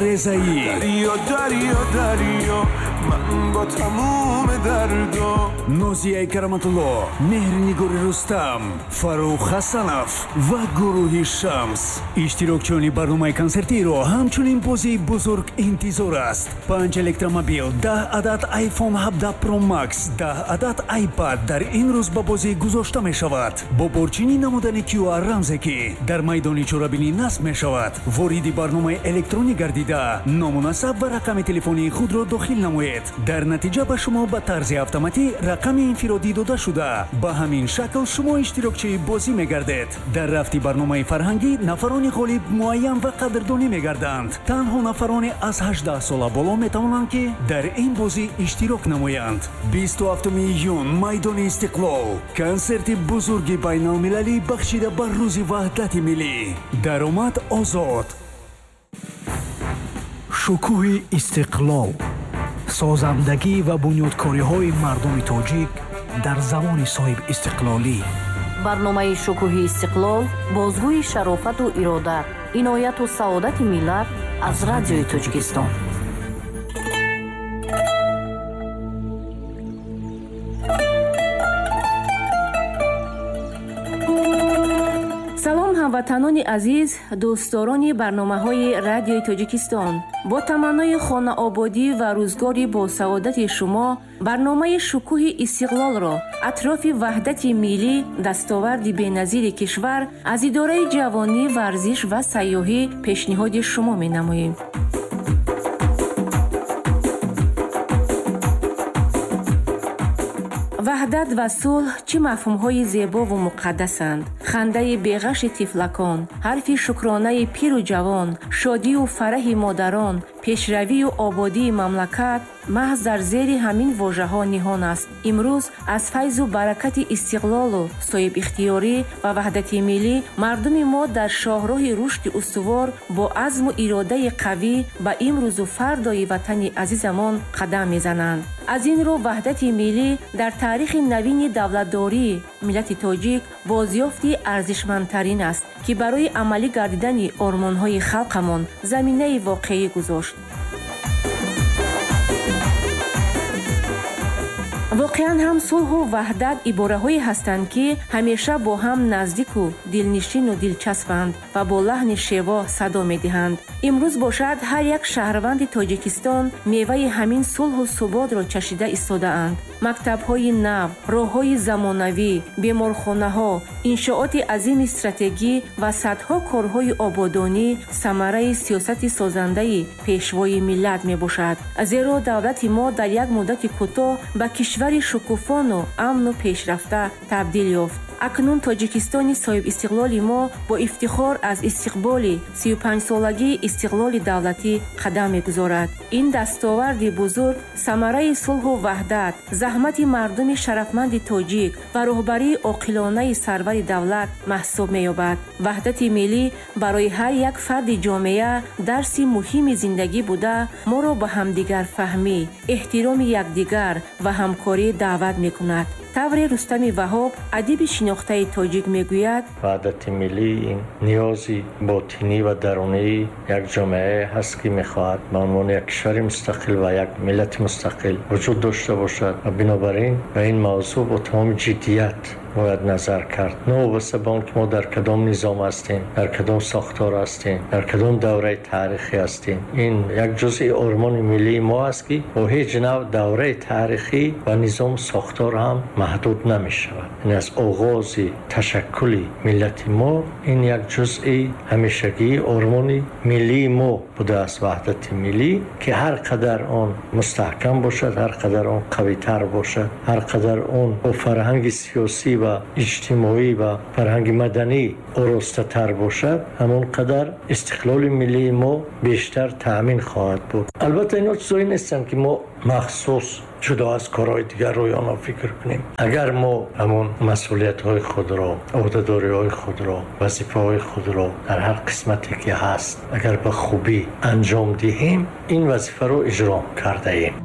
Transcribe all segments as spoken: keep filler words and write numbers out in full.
Резаӣ. Дарё, дарё, дарё, ман бо тамоми дардо. Нозияи Кароматулло, Меҳрнигори Рустам, Фаррух Ҳасанов ва гурӯҳи Шамс. Иштирокчиёни барномаи консертиро ҳамчунин бозии бузург интизор аст. Панҷ электромобил, даҳ адад iPhone ҳабдаҳ Pro Max, даҳ адад iPad дар ин рӯз ба бозӣ гузошта мешавад. Бо борчинӣ намудани Q R рамзе, ки дар майдони чорабинӣ насб мешавад, вориди барномаи электронӣ гардида, ному насаб ва рақами телефонии худро дохил намоед. Дар натиҷа ба шумо ба тарзи автоматӣ рақами инфиродӣ дода шуда, ба ҳамин шакл шумо иштирокчии бозӣ мегардед. Дар рафти барномаи фарҳангӣ нафарони ғолиб муайян ва қадрдонӣ мегарданд. Танҳо нафарони аз ҳаждаҳ сола боло метавонанд, ки дар ин бозӣ иштирок намоянд. Бисту ҳафтуми июн, майдони Истиқлол, консерти бузурги байналмилалӣ бахшида ба рӯзи ваҳдати миллӣ. Даромад озод. Шукӯҳи истиқлол, созандагӣ ва бунёдкориҳои мардуми тоҷик дар замони соҳибистиқлолӣ. Барномаи Шукӯҳи истиқлол бозгӯи шарофату ирода, инояту саодати миллат аз Радиои Тоҷикистон. Салом, ҳамватанони азиз, дӯстдорони барномаҳои Радиои Тоҷикистон. Бо таманнои хонаободӣ ва рӯзгори босаодати шумо барномаи Шукӯҳи истиқлолро атрофи ваҳдати миллӣ, дастоварди беназири кишвар аз идораи ҷавонӣ, варзиш ва сайёҳӣ пешниҳоди шумо менамоем. Ваҳдат ва сулҳ чӣ мафҳумҳои зебову муқаддасанд. Хандаи беғаши тифлакон, ҳарфи шукронаи пиру ҷавон, шодию фараҳи модарон, пешравию ободии мамлакат маҳз дар зери ҳамин вожаҳо ниҳон аст. Имрӯз аз файзу баракати истиқлолу соҳибихтиёрӣ ва ваҳдати миллӣ мардуми мо дар шоҳроҳи рушди устувор бо азму иродаи қавӣ ба имрӯзу фардои ватани азизамон қадам мезананд. Аз ин рӯ ваҳдати миллӣ дар таърихи навини давлатдории миллати тоҷик бозёфти арзишмандтарин аст, ки барои амалӣ гардидани ормонҳои халқамон заминаи воқеӣ гузошт. Воқеан ҳам сулҳу ваҳдат ибораҳое ҳастанд, ки ҳамеша бо ҳам наздику дилнишину дилчаспанд ва бо лаҳни шево садо медиҳанд. Имрӯз бошад ҳар як шаҳрванди Тоҷикистон меваи ҳамин сулҳу суботро чашида истодаанд. Мактабҳои нав, роҳҳои замонавӣ, беморхонаҳо, иншооти азими стратегӣ ва садҳо корҳои ободонӣ самараи сиёсати созандаи пешвои миллат мебошад. Зеро давлати мо дар як муддати кӯтоҳ ба кишвари шукуфону амну пешрафта табдил ёфт. Акнун Тоҷикистони соҳибистиқлоли мо бо ифтихор аз истиқболи сию панҷсолагии истиқлоли давлатӣ қадам мегузорад. Ин дастоварди бузург самараи сулҳу ваҳдат, заҳмати мардуми шарафманди тоҷик ва роҳбарии оқилонаи сарвари давлат маҳсуб меёбад. Ваҳдати миллӣ барои ҳар як фарди ҷомеа дарси муҳими зиндагӣ буда, моро ба ҳамдигарфаҳмӣ, эҳтироми якдигар ва ҳамкорӣ даъват мекунад. Тавре Рустами Ваҳоб, адиби шинохтаи тоҷик, мегӯяд: ваҳдати миллӣ ин ниёзи ботинӣ ва дарунии як ҷомеае ҳаст, ки мехоҳад ба унвони як кишвари мустақил ва як миллати мустақил вуҷуд дошта бошад ва бинобар ин ба ин мавзӯъ бо тамоми ҷиддият бояд назар кард. Новобаста ба он ки мо дар кадом низом ҳастем, дар кадом сохтор ҳастем, дар кадом давраи таърихӣ ҳастем, ин як ҷузъи ормони миллии мо аст, ки бо ҳеҷ навъ давраи таърихӣ ва низому сохтор ҳам маҳдуд намешавад. Ин аз оғози ташаккули миллати мо ин як ҷузъи ҳамешагии ормони миллии мо будааст, ваҳдати миллӣ, ки ҳар қадар он мустаҳкам бошад, ҳар қадар он қавитар бошад, ҳар қадар он бо фарҳанги сиёсӣ ва иҷтимоӣ ва фарҳанги маданӣ оростатар бошад, ҳамон қадар истиқлоли миллии мо бештар таъмин хоҳад буд. Албатта инҳо чизҳое нестанд, ки мо махсус ҷудо аз корҳои дигар рӯи онҳо фикр кунем. Агар мо ҳамон масъулиятҳои худро, ӯҳдадориҳои худро, вазифаҳои худро дар ҳар қисмате ки ҳаст, агар ба хубӣ анҷом диҳем, ин вазифаро иҷро кардаем.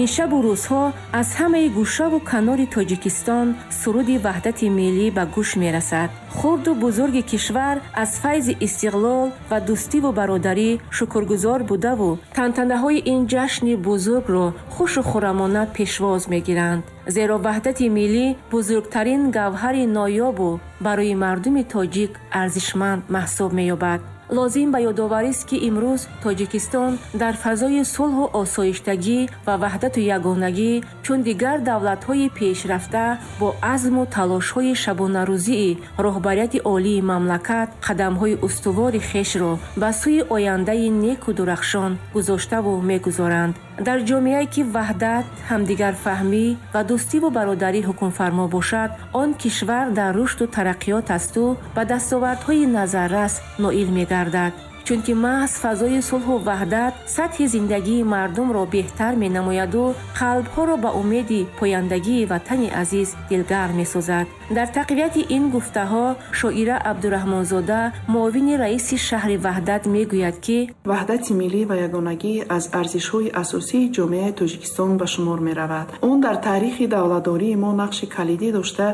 Ин шабу рӯзҳо аз ҳамаи гӯшаву канори Тоҷикистон суруди ваҳдати миллӣ ба гӯш мерасад. Хурду бузурги кишвар аз файзи истиқлол ва дӯстиву бародарӣ шукргузор будаву тантанаҳои ин ҷашни бузургро хушу хурамона пешвоз мегиранд. Зеро ваҳдати миллӣ бузургтарин гавҳари ноёбу барои мардуми тоҷик арзишманд маҳсуб меёбад. Лозим ба ёдоварист, ки имрӯз Тоҷикистон дар фазои сулҳу осоиштагӣ ва ваҳдату ягонагӣ чун дигар давлатҳои пешрафта бо азму талошҳои шабонарӯзии роҳбарияти олии мамлакат қадамҳои устувори хешро ба сӯи ояндаи неку дурахшон гузоштаву мегузоранд. Дар ҷомеае ки ваҳдат, ҳамдигарфаҳмӣ ва дӯстиву бародарӣ ҳукмфармо бошад, он кишвар дар рушду тараққиёт асту ба дастовардҳои назаррас ноил мегардад. Чунки маҳз фазои сулҳу ваҳдат сатҳи зиндагии мардумро беҳтар менамояду қалбҳоро ба умеди пояндагии ватани азиз дилгарм месозад. Дар тақвияти ин гуфтаҳо Шоира Абдураҳмонзода, муовини раиси шаҳри Ваҳдат, мегӯяд, ки ваҳдати миллӣ ва ягонагӣ аз арзишҳои асосии ҷомеаи Тоҷикистон ба шумор меравад. Он дар таърихи давлатдории мо нақши калидӣ дошта,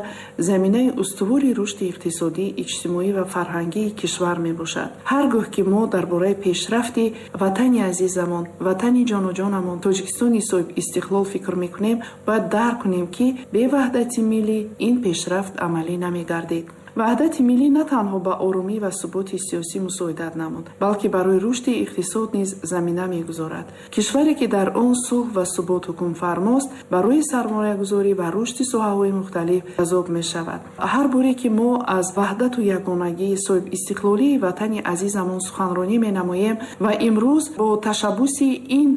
заминаи устувори рушди иқтисодӣ, иҷтимоӣ ва фарҳангии кишвар мебошад. Ҳар гоҳ ки мо дар бораи пешрафти ватани азизамон, ватани ҷонуҷонамон, Тоҷикистони соҳиб истиқлол фикр мекунем, бояд дарк кунем, ки бе ваҳдати миллӣ ин пешрафт амалӣ намегардид. Ваҳдати миллӣ на танҳо ба оромӣ ва суботи сиёсӣ мусоидат намуд, балки барои рушди иқтисод низ замина мегузорад. Кишваре, ки дар он сулҳ ва субот ҳукмфармост, барои сармоягузорӣ ва рушди соҳаҳои мухталиф ҷазоб мешавад. Ҳар боре ки мо аз ваҳдату ягонагии соҳибистиқлолии ватани азизамон суханронӣ менамоем ва имрӯз бо ташаббуси ин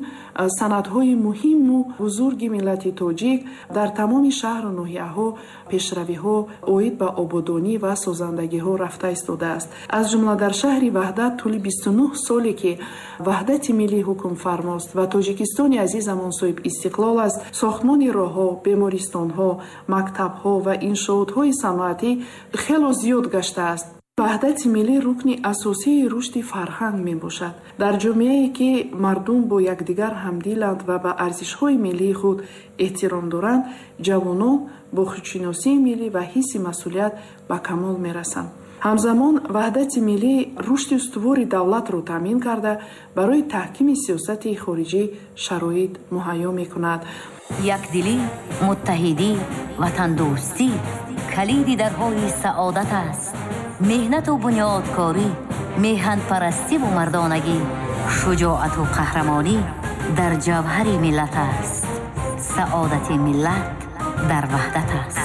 санадҳои муҳимму бузурги миллати тоҷик дар тамоми шаҳру ноҳияҳо пешравиҳо оид ба ободонӣ ва созандагиҳо рафта истодааст. Аз ҷумла дар шаҳри Ваҳдат тӯли бисту нӯҳ соле ки ваҳдати миллӣ ҳукмфармост ва Тоҷикистони азизамон соҳиб истиқлол аст, сохтмони роҳҳо, бемористонҳо, мактабҳо ва иншоотҳои саноатӣ хело зиёд гаштааст. Ваҳдати миллӣ рукни асосии рушди фарҳанг мебошад. Дар ҷомеае ки мардум бо якдигар ҳамдиланд ва ба арзишҳои миллии худ эҳтиром доранд, ҷавонон бо худшиносии миллӣ ва ҳисси масъулият ба камол мерасанд. Ҳамзамон ваҳдати миллӣ рушди устувори давлатро таъмин карда, барои таҳкими сиёсати хориҷӣ шароит муҳайё мекунад. Якдилӣ, муттаҳидӣ, ватандӯстӣ калиди дарҳои саодат аст. Меҳнату бунёдкорӣ, меҳанпарастиву мардонагӣ, шуҷоату қаҳрамонӣ дар ҷавҳари миллат аст. Саодати миллат дар ваҳдат аст.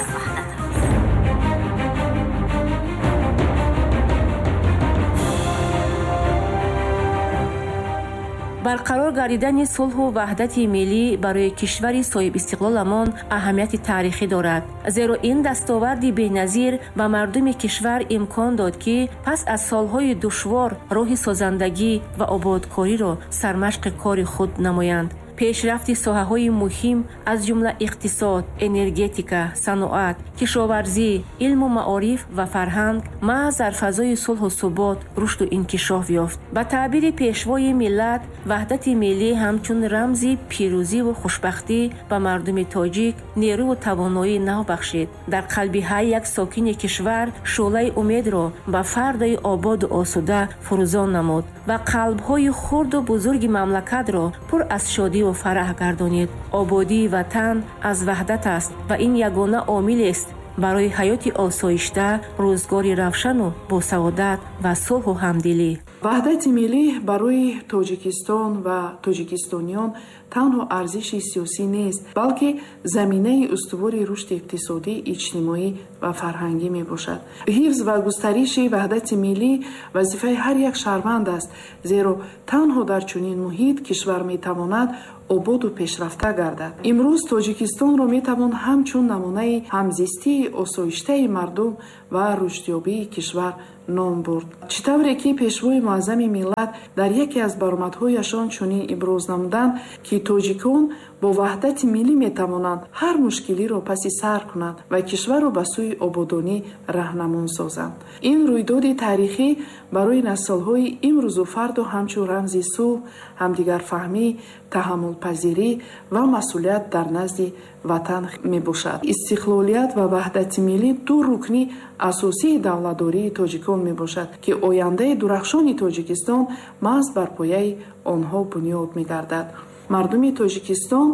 Барқарор гардидани сулҳу ваҳдати миллӣ барои кишвари соҳибистиқлоламон аҳамияти таърихӣ дорад. Зеро ин дастоварди беназир ба мардуми кишвар имкон дод, ки пас аз солҳои душвор роҳи созандагӣ ва ободкориро сармашқи кори худ намоянд. Пешрафти соҳаҳои муҳим аз ҷумла иқтисод, энергетика, саноат, кишоварзӣ, илму маориф ва фарҳанг маҳз дар фазои сулҳу субот рушду инкишоф ёфт. Ба таъбири пешвои миллат, ваҳдати миллӣ ҳамчун рамзи пирӯзиву хушбахтӣ ба мардуми тоҷик нерӯву тавоноии нав бахшид. Дар қалби ҳар як сокини кишвар шӯълаи умедро ба фардои ободу осуда фурӯзон намуд ва қалбҳои хурду бузурги мамлакатро пур аз шодӣ ва фараҳ гардонид. Ободии ватан аз ваҳдат аст ва ин ягона омилест барои ҳаёти осоишта, рӯзгори равшану босаодат ва сулҳу ҳамдилӣ. Ваҳдати миллӣ барои Тоҷикистон ва тоҷикистониён танҳо арзиши сиёсӣ нест, балки заминаи устувори рушди иқтисодӣ, иҷтимоӣ ва фарҳангӣ мебошад. Ҳифз ва густариши ваҳдати миллӣ вазифаи ҳар як шаҳрванд аст, зеро танҳо дар чунин муҳит кишвар метавонад ободу пешрафта гардад. Имрӯз Тоҷикистонро метавон ҳамчун намунаи ҳамзистии осоиштаи мардум ва рушдёбии кишвар ном бурд. Чӣ тавре ки пешвои муаззами миллат дар яке аз баромадҳояшон чунин иброз намуданд, ки тоҷикон бо ваҳдати миллӣ метавонанд ҳар мушкилиро паси сар кунанд ва кишварро ба сӯи ободонӣ раҳнамон созанд. Ин рӯйдоди таърихӣ барои наслҳои имрӯзу фардо ҳамчун рамзи сулҳ, ҳамдигарфаҳмӣ, таҳаммулпазирӣ ва масъулият дар назди ватан мебошад. Истиқлолият ва ваҳдати миллӣ ду рукни асосии давлатдории тоҷикон мебошад, ки ояндаи дурахшони Тоҷикистон маҳз бар пояи онҳо бунёд мегардад. Мардуми Тоҷикистон,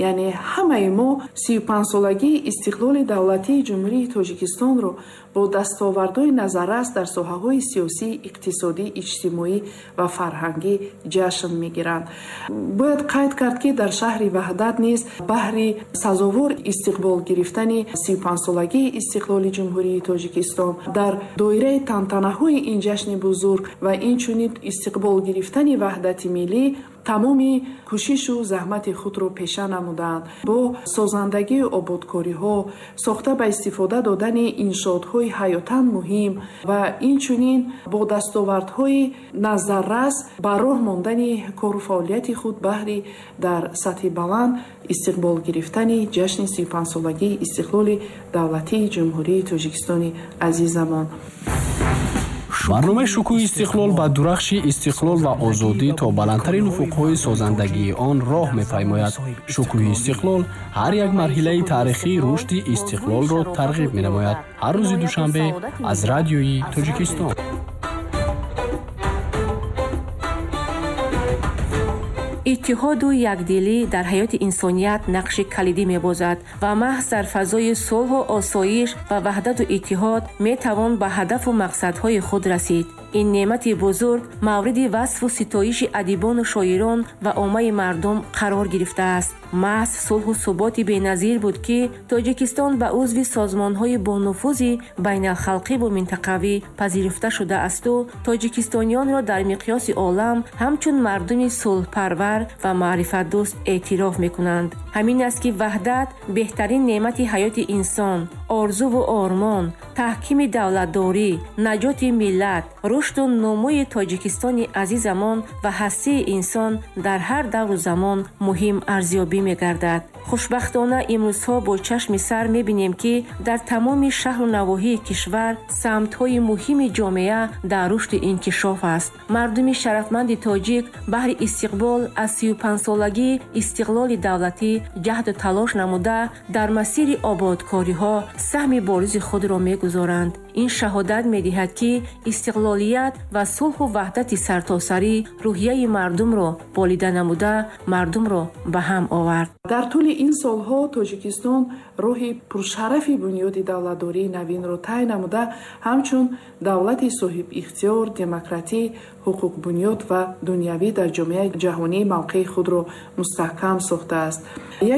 яъне ҳамаи мо, сию панҷсолагии истиқлоли давлатии Ҷумҳурии Тоҷикистонро бо дастовардҳои назаррас дар соҳаҳои сиёсӣ, иқтисодӣ, иҷтимоӣ ва фарҳангӣ ҷашн мегиранд. Бояд қайд кард, ки дар шаҳри Ваҳдат низ баҳри сазовор истиқбол гирифтани сию панҷсолагии истиқлоли Ҷумҳурии Тоҷикистон дар доираи тантанаҳои ин ҷашни бузург ва инчунин истиқбол гирифтани ваҳдати миллӣ тамоми кӯшишу заҳмати худро пеша намуданд. Бо созандагию ободкориҳо, сохта ба истифода додани иншоотҳои ҳаётан муҳим ва инчунин бо дастовардҳои назаррас ба роҳ мондани кору фаъолияти худ баҳри дар сатҳи баланд истиқбол гирифтани ҷашни сию панҷсолагии истиқлоли давлатии Ҷумҳурии Тоҷикистони азизамон. Барномаи шукӯҳи истиқлол ба дурахши истиқлол ва озодӣ то баландтарин уфуқҳои созандагии он роҳ мепаймояд. Шукӯҳи истиқлол ҳар як марҳилаи таърихии рушди истиқлолро тарғиб менамояд. Ҳар рӯзи душанбе аз радиои Тоҷикистон. Иттиҳоду якдилӣ дар ҳаёти инсоният нақши калидӣ мебозад ва маҳз дар фазои сулҳу осоиш ва ваҳдату иттиҳод метавон ба ҳадафу мақсадҳои худ расид. Ин неъмати бузург мавриди васфу ситоиши адибону шоирон ва оммаи мардум қарор гирифтааст. Маҳз сулҳу суботи беназир буд, ки Тоҷикистон ба узви созмонҳои бонуфузи байналхалқиву минтақавӣ пазируфта шудаасту тоҷикистониёнро дар миқёси олам ҳамчун мардуми сулҳпарвар ва маърифатдӯст эътироф мекунанд. Ҳамин аст, ки ваҳдат беҳтарин неъмати ҳаёти инсон, орзуву ормон, таҳкими давлатдорӣ, наҷоти миллат, рушду нумӯи Тоҷикистони азизамон ва ҳастии инсон дар ҳар давру замон муҳим арзёбӣ мегардад. Хушбахтона имрӯзҳо бо чашми сар мебинем, ки дар тамоми шаҳру навоҳии кишвар самтҳои муҳими ҷомеа дар рушди инкишоф аст. Мардуми шарафманди тоҷик баҳри истиқбол аз сию панҷсолагии истиқлоли давлатӣ ҷаҳду талош намуда, дар масири ободкориҳо саҳми боризи худро мегузоранд. Ин шаҳодат медиҳад, ки истиқлолият ва сулҳу ваҳдати сартосарӣ рӯҳияи мардумро болида намуда, мардумро ба ҳам овард. Дар тӯли ин солҳо Тоҷикистон роҳи пуршарафи бунёди давлатдории навинро тай намуда, ҳамчун давлати соҳибихтиёр, демократӣ, ҳуқуқбунёд ва дунявӣ дар ҷомеаи ҷаҳонӣ мавқеи худро мустаҳкам сохтааст.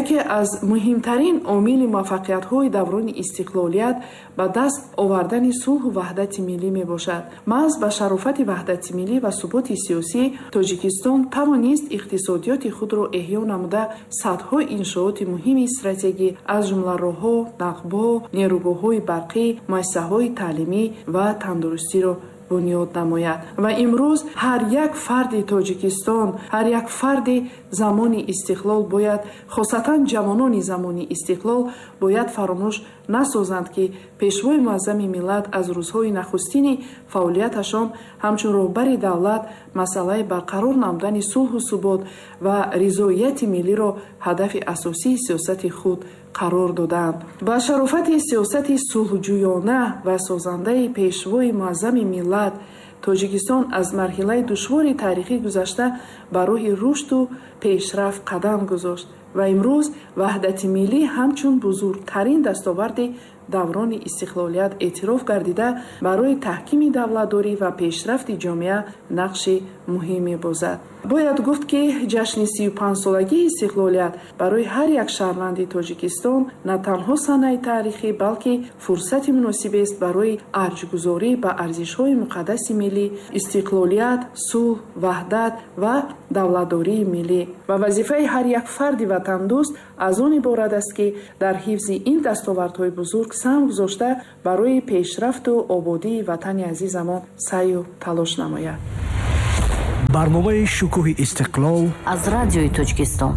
Яке аз муҳимтарин омили муваффақиятҳои даврони истиқлолият ба даст овардани сулҳу ваҳдати миллӣ мебошад. Маҳз ба шарофати ваҳдати миллӣ ва суботи сиёсӣ Тоҷикистон тавонист иқтисодиёти худро эҳё намуда, садҳо иншооти муҳими стратегӣ, аз ҷумла роҳҳо, нақбҳо, нерӯгоҳҳои барқӣ, муассисаҳои таълимӣ ва тандурустиро бунёд намояд. Ва имрӯз ҳар як фарди Тоҷикистон, ҳар як фарди замони истиқлол бояд, хосатан ҷавонони замони истиқлол бояд фаромӯш насозанд, ки пешвои муаззами миллат аз рӯзҳои нахустини фаъолияташон ҳамчун роҳбари давлат масъалаи барқарор намудани сулҳу субот ва ризоияти миллиро ҳадафи асосии сиёсати худ қарор доданд. Ба шарофати сиёсати сулҳҷӯёна ва созандаи пешвои муаззами миллат Тоҷикистон аз марҳилаи душвори таърихӣ гузашта ба роҳи рушду пешрафт қадам гузошт ва имрӯз ваҳдати миллӣ ҳамчун бузургтарин дастоварди даврони истиқлолият эътироф гардида, барои таҳкими давлатдорӣ ва пешрафти ҷомеа нақши муҳим мебозад. Бояд гуфт, ки ҷашни сию панҷсолагии истиқлолият барои ҳар як шаҳрванди Тоҷикистон на танҳо санаи таърихӣ, балки фурсати муносибест барои арҷгузорӣ ба арзишҳои муқаддаси миллӣ, истиқлолият, сулҳ, ваҳдат ва давлатдории миллӣ. Ва вазифаи ҳар як фарди ватандӯст аз он иборат аст, ки дар ҳифзи ин дастовардҳои бузург саҳм гузошта, барои пешрафту ободии ватани азизамон саъю талош намояд. Барномаи Шукӯҳи истиқлол аз Радиои Тоҷикистон.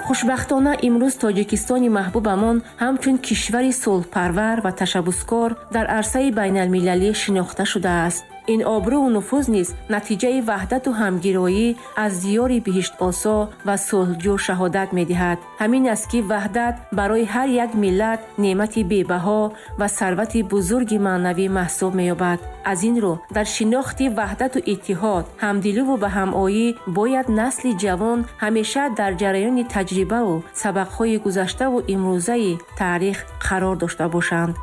Хушбахтона, имрӯз Тоҷикистони маҳбубамон ҳамчун кишвари сулҳпарвар ва ташаббускор дар арсаи байналмилалӣ шинохта шудааст. Ин обрӯву нуфуз низ натиҷаи ваҳдату ҳамгироӣ аз диёри биҳиштосо ва сулҳҷӯ шаҳодат медиҳад. Ҳамин аст, ки ваҳдат барои ҳар як миллат неъмати бебаҳо ва сарвати бузурги маънавӣ маҳсуб меёбад. Аз ин рӯ, дар шинохти ваҳдату иттиҳод, ҳамдилуву ба ҳамоӣ бояд насли ҷавон ҳамеша дар ҷараёни таҷрибаву сабақҳои гузаштаву имрӯзаи таърих қарор дошта бошанд.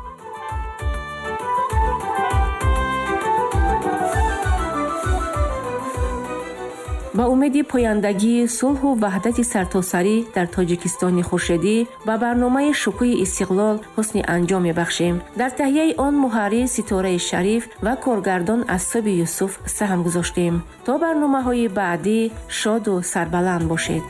Ба умеди пояндагии сулҳу ваҳдати сартосарӣ дар Тоҷикистони хуршедӣ ба барномаи Шукӯҳи истиқлол ҳусни анҷом мебахшем. Дар таҳияи он муҳаррир Ситораи Шариф ва коргардон Асоби Юсуф саҳм гузоштем. То барномаҳои баъдӣ шоду сарбаланд бошед.